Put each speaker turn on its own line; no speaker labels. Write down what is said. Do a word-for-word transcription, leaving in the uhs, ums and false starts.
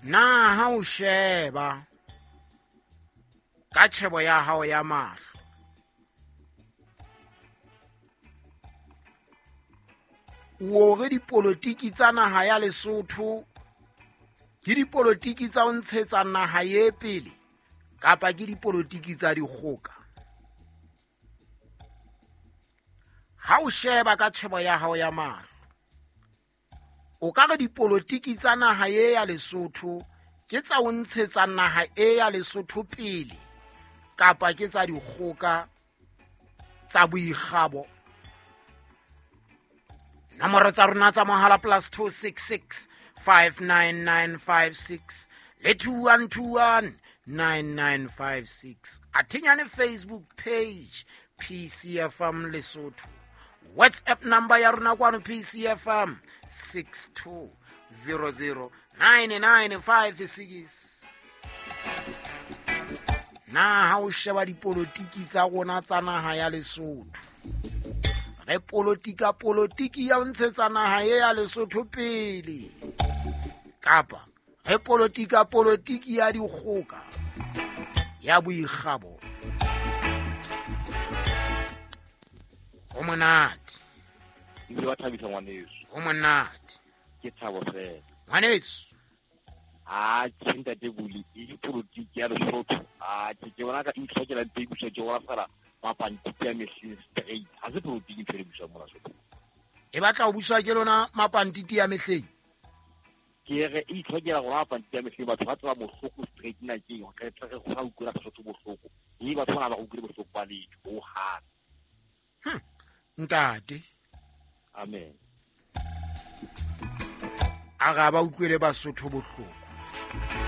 Na ha o sheba ka tjhebo ya hao ya mahlo, o re dipolotiki tsa naha ya Lesotho ke dipolotiki tsa ho ntshetsa naha ye pele kapa ke dipolotiki tsa dikgoka? Ha o sheba ka tjhebo ya hao ya mahlo, o ka re dipolotiki tsa naha ye ya Lesotho ke tsa ho ntshetsa naha e ya Lesotho pele kapa ke tsa dikgoka tsa boikgabo? Nomoro tsa rona tsa mohala plus two six six five nine nine five six le two one two one nine nine five six. Athinyane Facebook page P C F M Lesotho. WhatsApp number ya rona kwano P C F M six two zero zero nine nine five six. Na ha o sheba dipolotiki tsa rona tsa naha ya Lesotho, re politika politiki ya ho ntshetsa naha ye ya Lesotho pele kapa re politika politiki ya dikgoka ya boikgabo? Ho monate.
Ebile wa thabisa ngwaneso.
Ho monate.
Ke thabo fela.
Ngwaneso.
Ah, ke ntate Buli, e dipolotiki ya Lesotho. Ah, ke ke bona ka itlhokela teng puso ke bona fela mapantiti a mehleng straight. Ha se polotiki ntho e busang mona Lesotho.
E batla ho buswa ke lona mapantiti a mehleng?
Ke re e itlhokela gore mapantiti a mehleng batho ba tseba bohloko straight na ke eng, re tla re go sa utlwela Sesotho bohloko. Mme batho bana ba utlwile bohloko ba letho ho hang.
Hm. Ntate.
Amen.
A ga ba utlwele Basotho bohloko.